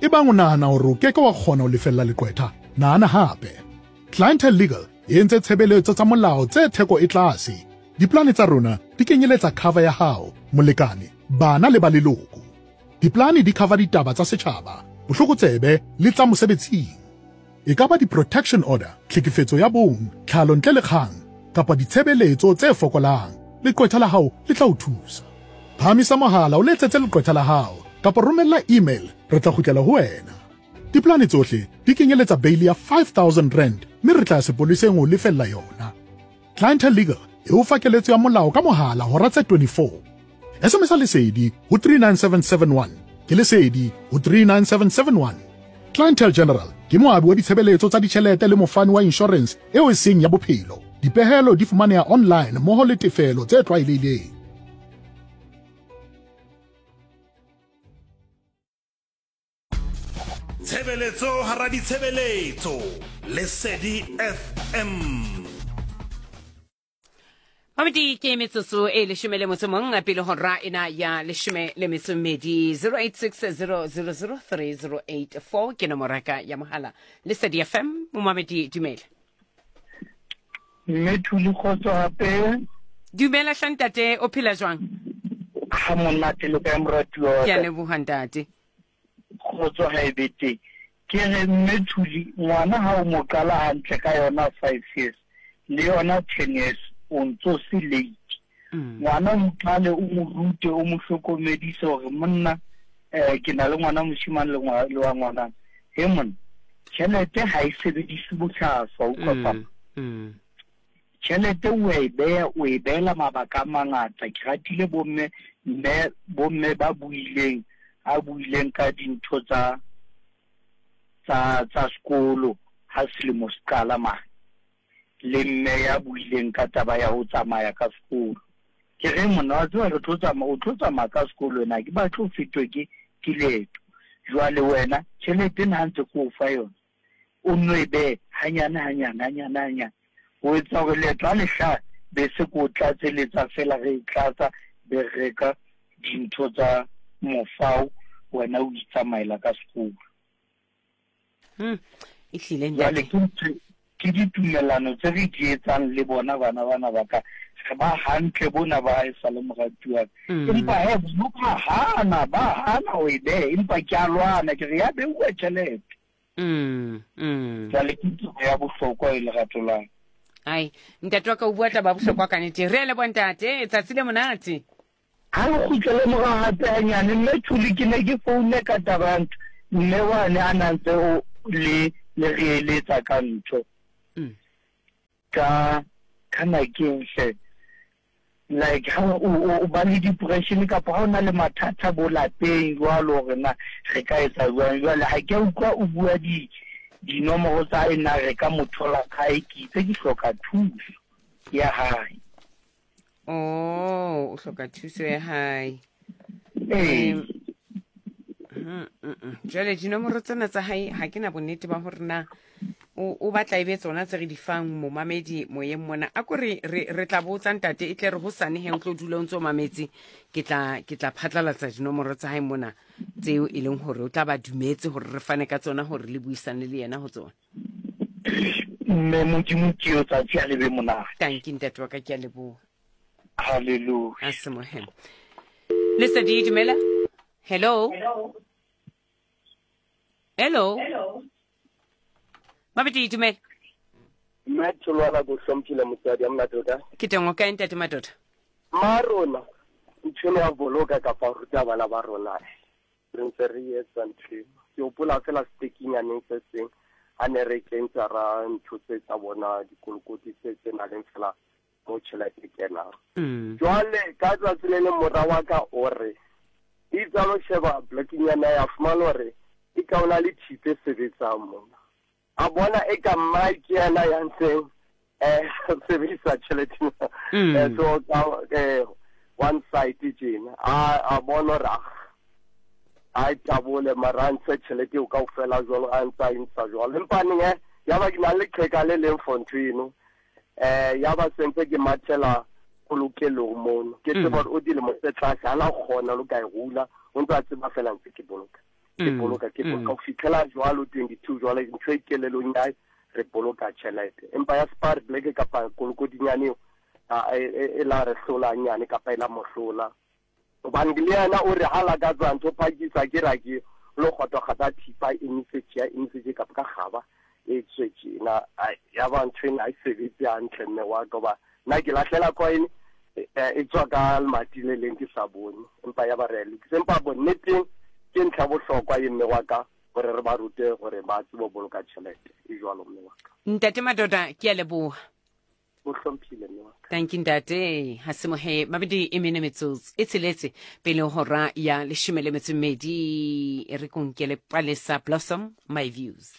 Ebang o nahana hore o ke ke wa kgona ho lefella leqwetha, nahana hape. Clientele Legal e entse tshebeletso tsa molao tse theko e tlase. Diplane tsa rona di kenyeletsa cover ya hao, molekane, bana le ba leloko. Diplane di cover ditaba tsa setjhaba, bohlokotsebe le tsa mosebetsing. E ka ba di-protection order, tlhekefetso ya bong, tlhalo ntle le kgang, kapa ditshebeletso tse fokolang, leqwetha la hao le tla o thusa. Phahamisa mohala o letsetse leqwetha la hao kapa romella email re tla kgutlela ho wena. Diplane tsohle di kenyeletsa beili ya R5000 mme re tla ya sepoleseng ho lefella yona. Clientele Legal e o fa keletso ya molao ka mohala hora tse 24. SMS Lesedi ho 39771. Ke Lesedi ho 39771. Clientele General ke moabi wa ditshebeletso tsa ditjhelete le mofani wa inshorense eo e seng ya bophelo. Dipehelo di fumaneha online mmoho le tefelo tse tlwaelehileng. Tshebeletso hara ditshebeletso. Lesedi FM. Mamedi ke metsotso e leshome le motso mong pele hora ena ya leshome le metso mmedi 0860003084 ke nomoro ya ka ya mohala Lesedi FM momamedi dumela. Mme Thuli kgotso hape. Dumela hla ntate o phela jwang? Ha monate le kae moratuwa wa Ke a leboha ntate. Kgotso ha e be teng. Ke re mme Thuli ngwana ha o mo qala hantle ka yona 5 years le yona 10 years o ntso se late. Ngwana o mo qale o mo rute o mo hlokomedise hore monna eh ke na le ngwana moshimane le le wa ngwanana. He monna tjhelete ha e sebediswe bohlaswa utlwa papa. Tjhelete o a e beha, o e behela mabaka a mangata. Ke ratile bomme, mme, bomme ba buileng, a buileng ka dintho tsa, tsa, tsa sekolo ha selemo se qala mane. Le mme ya buileng ka taba ya ho tsamaya ka sekolo. Ke re monna wa tseba re tlo tsamaya, o tlo tsamaya ka sekolo wena, ha ke batle o fetwe ke, ke leeto. Jwale wena, tjhelete ena ha ntse ke o fa yona, o nno e behe hanyane hanyane hanyane hanyane ho etsa hore leeto ha le hlaha be se ko tlatseletsa fela re e tlatsa be re reka dintho tsa mofao wena o itsamaela ka sekolo. Ehlile Jwale ntate. ke ntho ke ditumellano tse re di etsang le bona bana bana ba ka re ba hantle bona ba e sa le moratuwa empa he bona ba hana ba hana ho e beha empa ke a lwana ke re ya beuwa tjhelete. Jwale ke taba ya bohlokwa e lerato la ka. Ai, ntate wa ka o bua taba ya bohlokwa ka nete. Re a leboha ntate, tsatsi le monate. Ha re kgutlele morao hape hanyane, Mme Thuli, ke ne ke founne ka taba ya ntho mme wane a na ntse o le le re eletsa ka ntho. Ka kana keng hle? Like ha o o ba le depression kapa ha o na le mathata bo lapeng jwalo hore na re ka etsa jwang. Jwale ha ke a utlwa o bua di dinomoro tsa hae na re ka mo thola kae, ke itse ke hloka thuso ya hae. Oh, o hloka thuso ya hae. Ee. Jwale dinomoro tsena tsa hae ha ke na bonnete ba hore na o batla e be tsona tse re di fang momamedi moyeng mona. A ko re re tla botsa ntate e tle re hosane he o tlo dula o ntse o mametse ke tla ke tla phatlalatsa dinomoro tsa hae mona tseo e leng hore o tla ba dumetse hore re fane ka tsona hore le buisane le yena ho tsona. Mme Modimo ke yo tsatsi a le be monate. Tanki ntate wa ka ke a leboha. Hallelujah. A se mohela. Lesedi dumela. Hello. Hello. Mabedi dumela. Mme Tholwana ko hlomphile motswadi ya monate o kae? Ke teng o kae ntate Madoda? Ma rona ntho eno ya boloka kapa ruta bana ba rona re ntse re etsa ntho eno. Ke hopola fela setekinyaneng se seng ha ne re kentsa ra ntho tse tsa bona dikolokoti tse tse nang le fela mo tjhelete e kenang. Jwale ka tsatsi le leng mora wa ka o re itse a lo sheba blokinyana ya fumana hore e ka o na le thipe e sebetsang mona. A bona e ka mmae ke yena ya ntseng sebedisa tjhelete so ka one side tjena a bona hore a tabole mara a ntshe tjhelete eo kaofela jwalo a ntse a e ntsha jwalo empa neng ya ba ke na le leqheka le leng for ntho eno ya ba sentse ke mathela polokelong mono ke tseba hore o dilemo tse tlase ha na kgona lo ka e hula o ntse a tseba fela ntse ke boloka. Ke boloka, ke boloka ho fitlhela jwalo 22 jwale ntho e kelelong ya hae re boloka tjhelete. Empa ya Spar Black kapa kolokodinyane eo e la re hlola nyane kapa e la mo hlola. Hobane le yena o re ha lakatsa ntho phakisa ke ra ke lo kgotwa kgata thipa e emise tje emise tje kapa ka kgaba e tswe tjena. Ya ba ntho ena ha e sebetse hantle mme wa ka hoba nna ke lahlela coin e tswa ka lemati le leng ke sa bone empa ya ba re a e lokisa. Empa bonneteng ke ntlha ya bohlokwa ye mme wa ka gore re ba rute gore ba tsebe go boloka tšhelete e jwalo mme wa ka. Ntate Madoda ke a leboha. O hlomphile mme wa ka. Thank you ntate. Ha se mohe mabedi e mene metsotso e tsheletse pele hora ya leshome le metso e mmedi e re konkele Palesa Blossom my views.